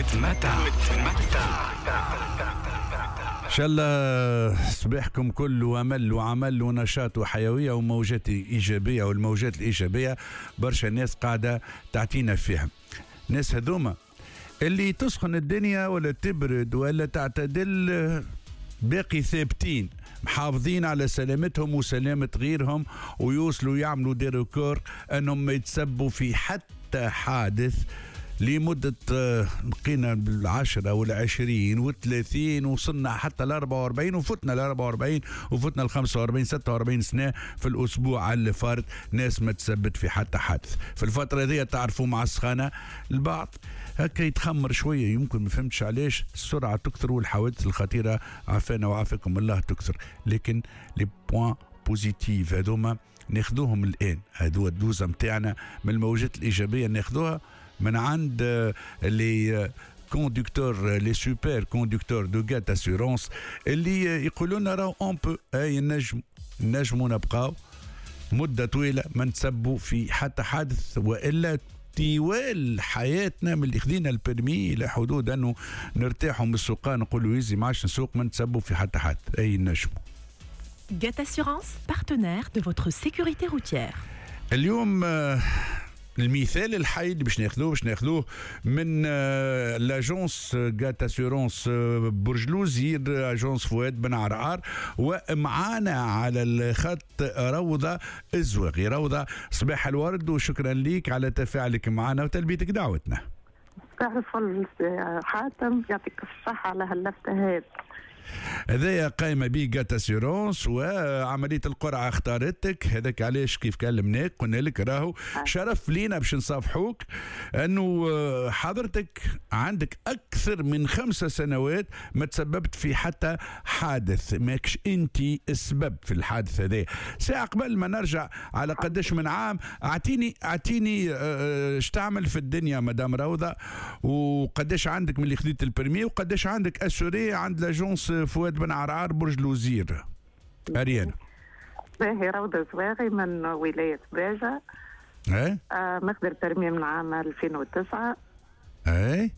وتمتع. ان شاء الله صباحكم كله امل وعمل ونشاط وحيوية وموجات ايجابية، والموجات الايجابية برشا ناس قاعدة تعطينا فيها. الناس هذوما اللي تسخن الدنيا ولا تبرد ولا تعتدل باقي ثابتين، محافظين على سلامتهم وسلامة غيرهم، ويوصلوا يعملوا des records انهم ما يتسبوا في حتى حادث لمدة بقينا بالعشرة والعشرين والثلاثين، وصلنا حتى ال44 وفتنا ال44 وفتنا ال45 46 سنة في الأسبوع اللي فات، ناس ما تثبت في حتى حادث. في الفترة هذه تعرفوا مع السخانة البعض هكا يتخمر شوية، يمكن ما فهمتش علاش السرعة تكثر والحوادث الخطيرة عافانا وعافاكم الله تكثر، لكن les points positifs هذوما ناخذوهم الآن، هذو ال dose متاعنا من الموجات الإيجابية ناخذوها من عند les conducteurs، les super conducteurs de GAT Assurances اللي يقولوا لنا راهو on peut، اي نجموا نبقاو مده طويلة ما نتسبوا في حتى حادث، والا طوال حياتنا من اللي خذينا ال permis الى حدود انه نرتاحوا من السوقان نقولوا يزي ما عادش نسوق، ما نتسبوا في حتى حادث، اي نجموا. GAT Assurance، partenaire de votre sécurité routière. اليوم المثال الحي اللي باش ناخذوه من l'agence GAT Assurances برج الوزير، agence فؤاد بن عرعار، ومعانا على الخط روضة الزواغي. روضه، صباح الورد وشكرا لك على تفاعلك معنا وتلبيتك دعوتنا. صباح الفل حاتم، يعطيك الصحة على هاللفتة هذه. هذايا قايمة به GAT Assurances وعملية القرعة اختارتك، هذاك علاش كيف كلمناك قلنا لك راهو شرف لينا باش نصافحوك، انه حضرتك عندك اكثر من 5 سنوات ما تسببت في حتى حادث، ماكش انت السبب في الحادث هذا. ساعة قبل ما نرجع على قداش من عام، اعطيني اش تعمل في الدنيا مدام روضة، وقداش عندك من اللي خديت ال permis، وقداش عندك assurée عند l'agence فؤاد بن عرعار برج الوزير اريانا؟ باهي، روضة زواغي من ولاية باجة. ايه. ماخذ ال permis من عام 2009. ايه،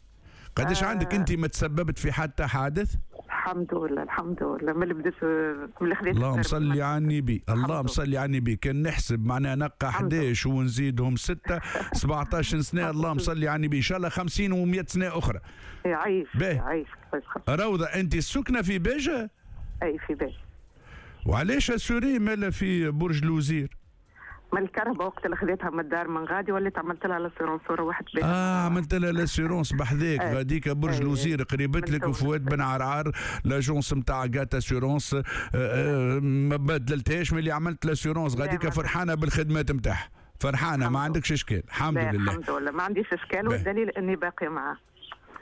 قداش عندك انت ما تسببت في حتى حادث؟ الحمد لله، الحمد لله، من اللي بديت، من اللي خديت. اللهم صل على النبي، اللهم صل على النبي. كان نحسب معناها نقى 11 ونزيدهم 6، 17 سنه، اللهم صل على النبي، ان شاء الله 50 و100 سنة اخرى. يعيش. يعيش. روضه، انت السكنة في باجه؟ اي، في باجه. وعلاش assurée مالا في برج الوزير؟ من الكرهبة وقت اللي خذيتها من الدار من غادي وليت عملت لها l'assurance وروحت بها. اه، عملت لها l'assurance بحذاك غاديك برج الوزير قريبت لك، وفؤاد بن عرعار l'agence نتاع GAT Assurances ما بدلتهاش من اللي عملت l'assurance غاديك، فرحانة بالخدمات نتاعها، فرحانه، ما عندكش اشكال، الحمد لله. الحمد لله، ما عنديش اشكال، والدليل اني باقي معاه.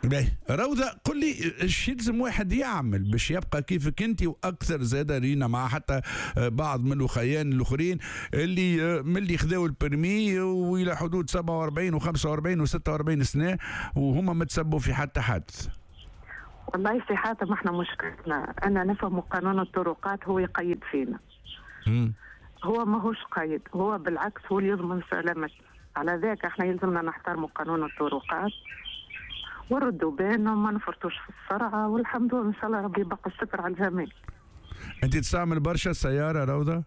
باهي روضة، قل لي ايش يلزم واحد يعمل باش يبقى كيفك انت واكثر؟ زاد رينا مع حتى بعض من الاخيان الاخرين اللي من اللي خذاو ال permis والى حدود 47 و45 و46 سنة وهما ما تسبوا في حتى حادث. والله سي حاتم، احنا مشكلتنا انا نفهم قانون الطرقات هو يقيد فينا. هو ماهوش قيد، هو بالعكس هو اللي يضمن سلامتنا. على ذاك احنا يلزمنا نحترموا قانون الطرقات وردوا بالنا وما نفرطوش في السرعه، والحمد لله، ان شاء الله ربي يبقى الستر على الجميع. انت تستعمل برشا السيارة روضة؟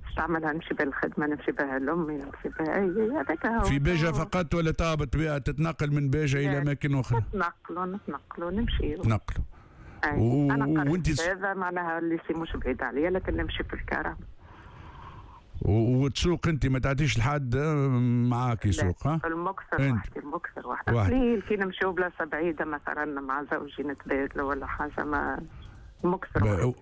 نستعملها، نمشي بها الخدمه، نمشي بها لامي، نمشي بها، اي هذاك هو. في باجة فقط ولا تهبط بها تتنقل من باجة الى اماكن اخرى؟ نتنقلوا، نتنقلوا، نمشي. تنقلوا. أنا وانت هذا معناها ال lycée مش بعيد عليا، لكن نمشي في الكرهبة. وتسوق انت؟ ما تعطيش لحد معاك يسوق؟ ها؟ المكثر وحدي، المكثر وحدي. قليل كي نمشيو بلاصة بعيدة مثلا مع زوجي نتبادلوا ولا حاجه، ما المكثر.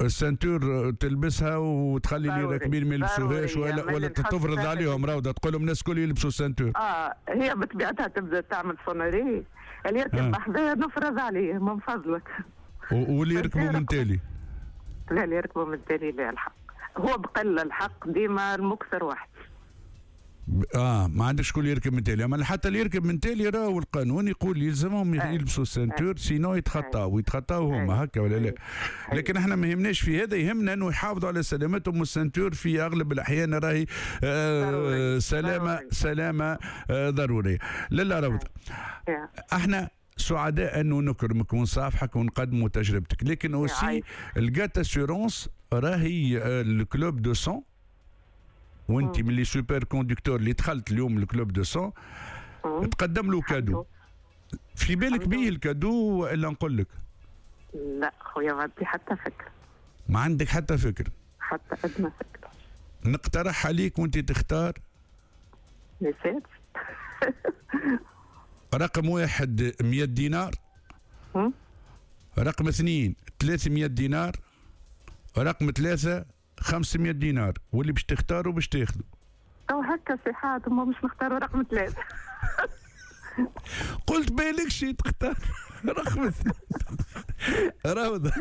ال ceinture تلبسها وتخلي اللي راكبين ما يلبسوهاش ولا تفرض عليهم روضه، تقول لهم الناس الكل يلبسوا ceinture؟ اه، هي بطبيعتها تبدا تعمل sonnerie، اللي يركب بحذايا نفرض عليه من فضلك. واللي يركبوا من تالي؟ لا، اللي يركبوا من تالي لا، الحق هو بقل الحق ديما المكثر واحد. اه، ما عندكش شكون يركب من تالي، اما حتى اللي يركب من تالي راهو القانون يقول يلزمهم يلبسوا ceinture، sinon يتخطاو، ويتخطاو هما، هكا ولا لا؟ لكن احنا ما يهمناش في هذا، يهمنا انه يحافظوا على سلامتهم، وال ceinture في اغلب الاحيان راهي سلامه، سلامه ضروريه. لالا روضة، احنا سعداء انه نكرمك ونصافحك ونقدموا تجربتك، لكن aussi ال GAT Assurances راهي ال club de 100، وانت من les super conducteurs اللي دخلت اليوم ال club de 100، تقدم له cadeau. في بالك بيه ال cadeau والا نقول لك؟ لا خويا، ما عندي حتى فكرة. ما عندك حتى فكرة؟ حتى ادنى فكرة. نقترح عليك وانت تختار. نسيت. رقم 1 100 دينار، رقم 2 300 دينار، رقم 3 500 دينار، واللي باش تختاروا باش تاخذوا. تو هكا سي حاتم، مش نختاروا رقم 3. قلت بالك شي تختار رقم 2. روضة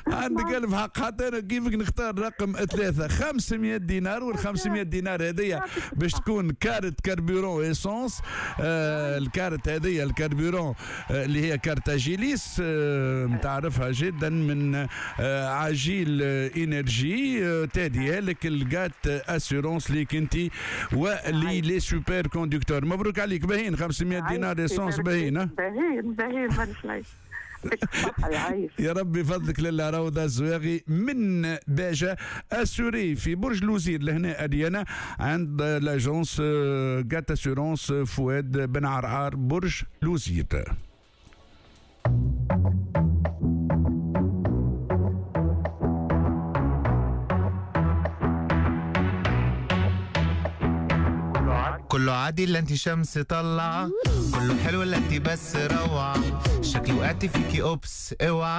عندك ألف حق، حتى أنا كيفك نختار رقم 3 500 دينار. وال 500 دينار هذيا باش تكون carte carburant essence. الكارت هذيا ال carburant اللي هي carte Agilis، متعرفها جدا من عجيل Énergie، تهديها لك ال GAT Assurances ليك انت ولي les super conducteurs. مبروك عليك، باهين 500 دينار essence، باهين. باهين باهين مانيش. يا ربي فضلك لله. روضة الزواغي من باجة، assurée في برج لوزير لهنا أريانا عند l'agence GAT Assurances فؤاد بن عرعار برج لوزير. كله عادي اللي انت شمس طلع، كله حلو اللي انت بس روعة، شكلي وقعت فيكي oops اوعى.